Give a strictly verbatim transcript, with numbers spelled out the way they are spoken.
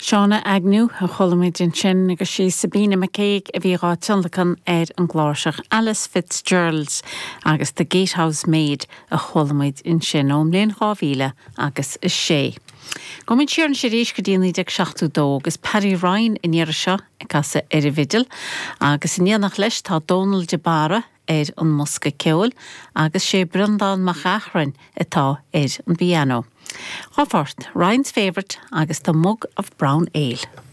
Shauna Agnew a chuala muid ansin agus sí Sabina McCaig a bhí á tionlacan ar an gcláirseach Alice Fitzgerald agus The Gatehouse Maid a chuala muid ansin ón mbliain dhá mhíle agus a sé. Gabhfaidh muid siar arís go dtí naoi déag seachtó dó agus Paddy Ryan an iarraidh seo ag casadh ar an bhfidil agus in éineacht leis tá Dónal de Barra ar an mbosca ceoil agus sé Breandán Mac Eachrain atá ar an bpianó. Dhá phort, Ryan's Favourite agus The Mug of Brown Ale.